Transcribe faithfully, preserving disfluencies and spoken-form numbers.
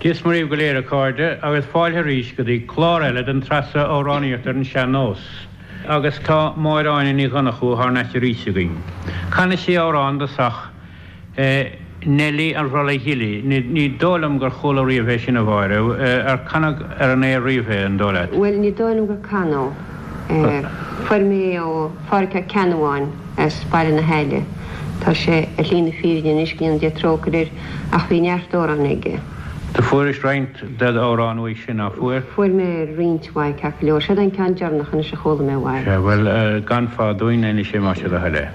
Dia is Muire dhaoibh go léir a chairde agus fáilte arís go dtí clár eile den tsraith seo Amhránaíocht ar an Sean-Nós. Agus tá Máire Áine Ní Dhonnchú thar n-ais arís againn. Canfaidh sí amhrán i dtosach Neilí an Bhrollaigh Ghilí. Ní dóigh liom gur chuala riamh é sin a Mháire. Ar canadh ar an aer riamh é an dóigh leat? Bhuel ní dóigh liom gur canadh é. Fuair mé é ó Phádhraic Ó Ceannabháin as Baile na hAille. Tá sé ar shlí na fírinne anois, go ndéana Dia trócaire air, ach bhí neart amhrán aige. Do fuairis roinnt de d'amhráin uaidh sin, ná fuair? Fuair mé roinnt mhaith ceart go leor. Seod é an ceann deireanach anois a chuala mé uaidh. Sea, bhuel, gan fad dúinn anois é más é do thoil é.